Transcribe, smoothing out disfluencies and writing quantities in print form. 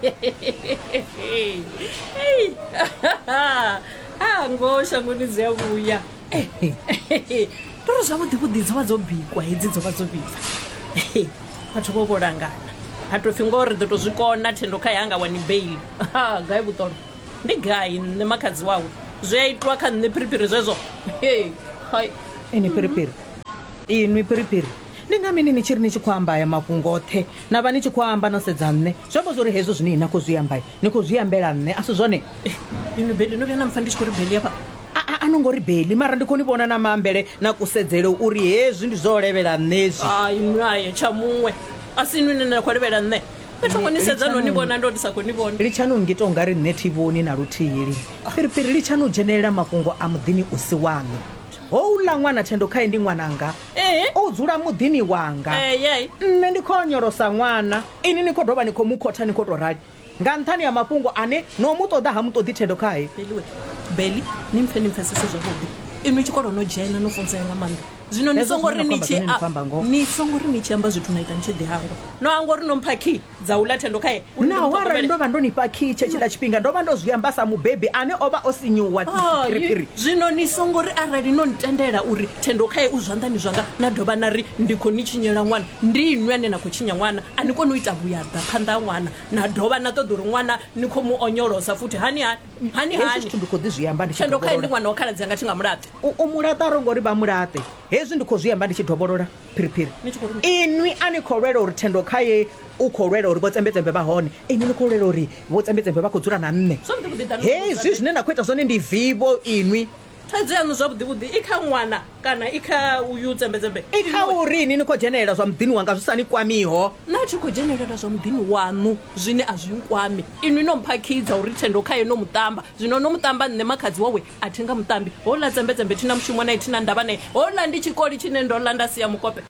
Ei, ah, ngoho shangoni dzi a vhuya. Ndori zwavhuḓi vhuḓi dzo vha dzo bikwa hedzi, dzo vha dzo vhibva. Vhathu vho vho langana ha tou pfi ngoho ri ḓo tou zwi kona. Thendo kha ya nga wani beili. Ha, gai vhuṱolo ndi gai? Nṋe makhadzi wawe zwi a itwa kha nṋe phiriphiri zwezwo. Hey, hai. Ini phiriphiri, inwi phiriphiri, ndi nga mini ni tshi ri ni tshi khou amba aya mafhungo oṱhe na vha ni tshi khou amba no sedza nṋe? Zwi amba zwa uri hezwo zwine na khou zwi amba ni khou zwi ambela nṋe, a si zwone? Inwi Beli, no vhuya na mpfa ndi tshi khou ri Beli hafha? A no ngo ri Beli, mara ndi khou ni vhona na maambele na kusedzele uri hezwi ndi zwo levhela nṋe hezwi. Hai, inwi aye tsha muṅwe a si inwi ni na khou levhela nṋe. Nṋe tho ngo ni sedza no ni vhona, ndo ndi sa khou ni vhona. Litshani u ngita u nga ri nṋe thi vhoni na luthihi lini. Phiriphiri, litshani u dzhenelela mafhungo a muḓini u si waṋu. Houḽa ṅwana Thendo khae ndi ṅwananga. O dzula muḓini wanga. Nṋe ndi khou onyolosa ṅwana, inwi ni khou dovha ni khou mu khotha ni khou tou rali nga nṱhani ha mafhungo ane no mu ṱoḓa ha mu ṱoḓi Thendo khae. Beli we, Beli, ni mpfe ni mpfesese zwavhuḓi. Inwi tshikolo no dzhena no funzea nga maanḓa. Zwino ni songo ri ni tshi ni songo ri ni tshi amba zwithu na ita ni tshi ḓi hangwa. No hangwa uri no mpha key dza uḽa Thendo khae uri ndi mu Naho arali ṱhogomele. ndo vha ndo ni fha key tshetshila tshifhinga, ndo vha ndo zwi amba sa mubebi ane o vha o sinyuwa. Hai, Phiriphiri. zwino ni songo ri arali no ntendela uri Thendo khae u zwanḓani zwanga na dovha na ri ndi khou ni tshinyela ṅwana. Ndi inwi ane na khou tshinya ṅwana, a ni koni u ita vhuyaḓa phanḓa ha ṅwana na dovha na ṱoḓa uri ṅwana ni khou mu onyolosa futhi. Hani hani hani Hezwi hani. zwithu ndi khou ḓi zwi amba ndi tshi Thendo khae ndi dovholola. ṅwana wa khaladzi anga, thi nga mulaṱi. U mulaṱa a ro ngo ri vha mulaṱe. Hezwi ndi khou zwi amba ndi tshi dovholola. Phiriphiri. Ni tshi khou ri mini? Inwi a ni khou lwela uri Thendo khaye u khou lwela uri Vho Tsembetsembe vha hone. Inwi ni khou lwela uri Vho Tsembetsembe vha khou dzula na nṋe. Zwavhuḓi vhuḓi ḓa ni Hezwi zwine na khou ita zwone ndi vivho inwi. Thaidzo yaṋu zwavhuḓi vhuḓi i kha ṅwana kana i kha uyu Tsembetsembe? I kha uri inwi ni khou dzhenelela zwa muḓini wanga zwi sa ni kwamiho. Nṋe a thi khou dzhenelela zwa muḓini waṋu zwine a zwi nkwami. Inwi no mpha khii dza uri Thendo khaye no mu ṱamba. Zwino no mu ṱamba nṋe makhadzi wawe a thi nga mu ṱambi. Houḽa Tsembetsembe thi na mushumo nae, thi na ndavha nae. Houḽa ndi tshikoli tshine ndo ḽa nda sia mukope.